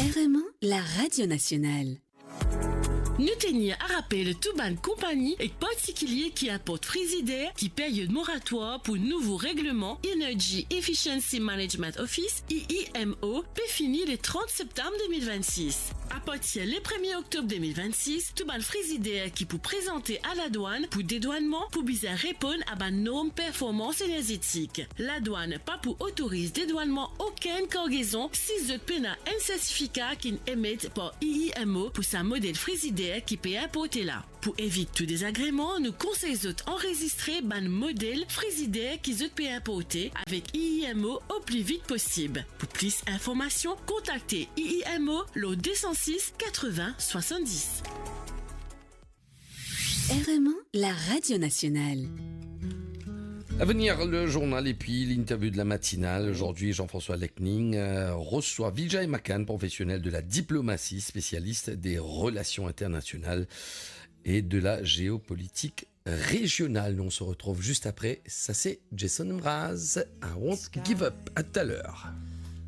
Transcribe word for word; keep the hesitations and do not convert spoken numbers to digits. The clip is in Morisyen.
R M A, la radio nationale. Nou tenir a rapel tou bann konpagni ek partikilie ki inport frizider ki peryod moratwar pou nouvo regleman Energy Efficiency Management Office, E E M O, pe fini le trant septam de mil vennsis. Apartir le premie oktob de mil vennsis, tou bann frizider ki pou prezante a ladwann pou dedwannman pou bizin reponn a bann norm performans enerzetik. Ladwann pa pou otoriz dedwannman okenn kargezon si zot pena enn sertifika ki'nn emet par E E M O pou sa model frizider ki pe inporte la. Pou evit tou dezagreman, nou konsey zot anrezistre bann model frizider ki zot pe inporte avek E E M O o pli vit posib. Pou plis informasion, kontakte E E M O lor de san sis, katreven, swasanndis. R M A, la radio nationale. À venir, le journal et puis l'interview de la matinale. Aujourd'hui, Jean-François Lecning, euh, reçoit Vijay Makan, professionnel de la diplomatie, spécialiste des relations internationales et de la géopolitique régionale. Nous, on se retrouve juste après. Ça, c'est Jason Mraz. I won't give up. À tout à l'heure.